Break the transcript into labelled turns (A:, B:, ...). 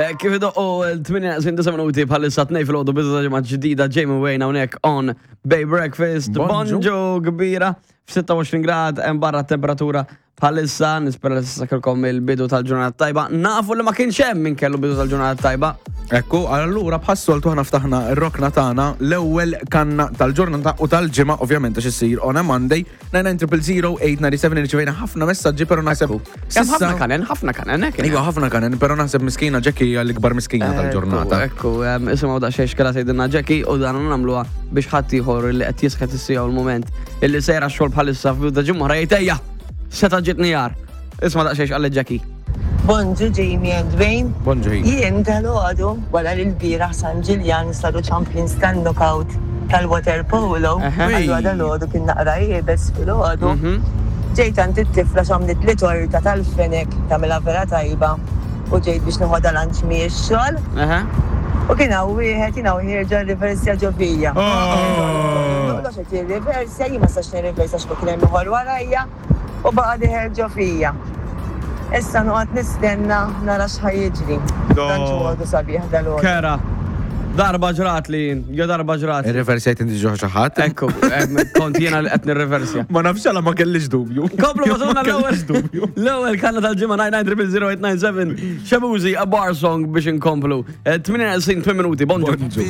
A: Eh, kif idoqqu l-8 minuti bħalissa tnej fil-ħodu bidu ta' ġimgħa ġdida Jamie Wayne hawnhekk on Bay Breakfast.
B: Bonġu.
A: Bonġu kbira f'26 grad hemm barra temperatura bħalissa nispera li s'issa kellkom il-bidu tal-ġurnata tajba. Nafu li ma kienx hemm min kellu bidu tal-ġurnata tajba.
B: Ekku, allura bħas-soltu ħana ftaħna r-rokna tagħna l-ewwel kanna tal-ġurnata u tal-ġimgħa ovvjament għax issir on a Monday 99000 irċivejna ħafna messaġġi però naħseb
A: Hemm ħafna kanen, ħafna kanen, hekk.
B: Iva, ħafna kanen, però naħseb miskina Jackie hija l-ikbar miskina tal-ġurnata.
A: Ekku, isimgħu daqsxejn x'kella tgħidilna Jackie u dan nagħmluha biex ħadd ieħor li qed jisħet is-sija u l-mument illi sejra x-xogħol bħalissa f'bidu ta' ġimgħa jgħid ejja, seta' ġietni jar. Isma' daqsxejn x'qalet Jackie.
C: Bonġu Jamie and Wayne.
B: Bonġu ħin.
C: Jien dalgħodu wara li lbieraħ San Ġiljan saru champions tan-knockout tal-water polo, allura dalgħodu kien naqra iebes filgħodu. Ġejt għand it-tifla x'għamlitli torta tal-fenek tagħmilha vera tajba u ġejt biex noħodha lunch mix-xogħol. U kien hawn wieħed jien hawn ħierġa rriversja ġo fija. Noqgħodx qed jirriversja, jien ma nistax nirriversja għax kien hemm ieħor warajja. U baqa' dieħel ġo fija. Issa noqgħod nistenna nara x'ħa jiġri. Tant hu għodu sabiħ dalgħodu.
A: Kera. Darba ġratli jien, jo darba ġratli.
B: Irriversjajt inti ġo xi ħadd?
A: Ekku, kont jiena li qed nirriversja.
B: Ma nafx għala ma kellix dubju.
A: Komplu
B: Ma
A: mażuna l-ewwel
B: kellix dubju.
A: L-ewwel kanna tal-ġimgħa 9900897 Xebuzi a bar song biex inkomplu. 28 minuti, bonġu.
B: Bonġu.